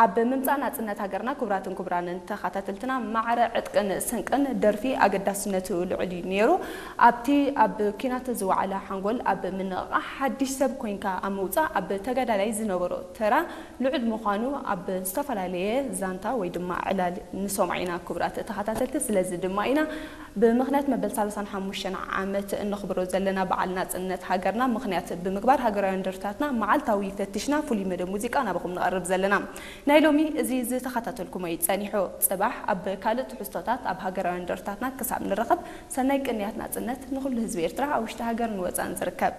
ኣብ ምምጻእ ናጽነት ሃገርና ክቡራትን ክቡራንን ተኸታተልትና፣ ማዕረ ዕጥቅን ስንቅን ደርፊ ኣገዳስነቱ ልዑል እዩ ነይሩ። ኣብቲ ኣብ ኲናት ዝወዓለ ሓንጎል ኣብ ምንቕቓሕ፣ ሓድሽ ሰብ ኮይንካ ኣብ ምውጻእ ኣብ ተጋዳላይ ዝነበሮ ተራ ልዑል ምዃኑ ኣብ ዝተፈላለየ ዛንታ ወይ ድማ ዕላል ንሰምዖ ኢና ክቡራት ተኸታተልቲ። ስለዚ ድማ ኢና ብምኽንያት መበል ሰላሳን ሓሙሽተን ዓመት እነኽብሮ ዘለና በዓል ናጽነት ሃገርና ምኽንያት ብምግባር ሃገራውያን ደርፍታትና መዓልታዊ ፈቲሽና ፍሉይ መደብ ሙዚቃ ናባኹም ነቐርብ ዘለና። ናይ ሎሚ እዚ ዝተኸታተልኩሞ እዩ ጸኒሑ። ጽባሕ ኣብ ካልእ ትሕዝቶታት ኣብ ሃገራውያን ደርፍታትና ክሳብ ንራኸብ ሰናይ ቅንያት ናጽነት ንኹሉ ህዝቢ ኤርትራ ኣብ ውሽጢ ሃገርን ወጻእን ዝርከብ።